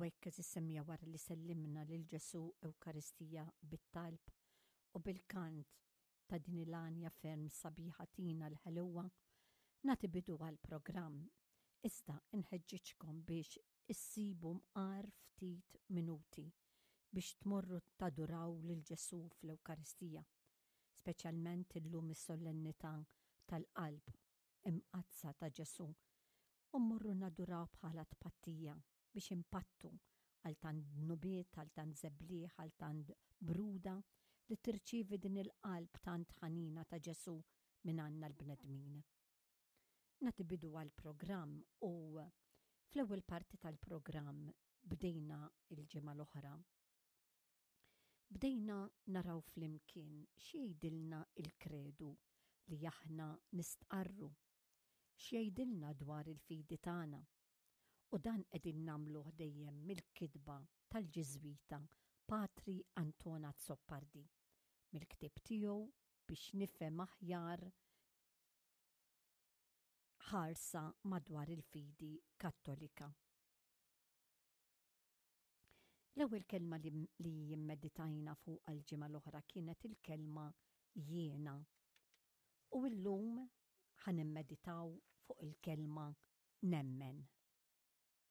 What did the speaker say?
U hekk eżis semmija wara li sellimna lil Ġesu Ewkaristija bit-talb u bil-kant ta' din il-għanja ferm sabiħa tina l-ħelwa, nagħti bidu għall-programm. Iżda nħeġġiġkom biex issibu mqar ftit minuti biex tmorru taduraw lil Ġesu fl-Ewkaristija, speċjalment illum is-solennità tal-qalb imqaddsa ta' Ġesù u mmorru naduraw bħala tpattija biex impattu għal tant dnubiet, għal tant żebliħ, għal tant bruda li tirċievi din il-qalb tant ħanina ta' Ġesù minn għandna l-bnedmin. Nagħti bidu għall-programm u fl-ewwel parti tal-programm bdejna il-ġimgħa l-oħra. Bdejna naraw flimkien x'jgħidilna il-kredu li aħna nistqarru, x'jgħidilna dwar il-fidi tagħna. U dan qegħdin nagħmluh dejjem mill-kitba tal-Ġiżwita Patri Anton Azzopardi, mill-ktieb tiegħu biex nifhem aħjar ħarsa madwar il-fidi Kattolika. L-ewwel kelma li, li jimmeditajna fuq għal-ġimgħa l-oħra kienet il-kelma jiena. U llum ħa nimmeditaw fuq il-kelma nemmen.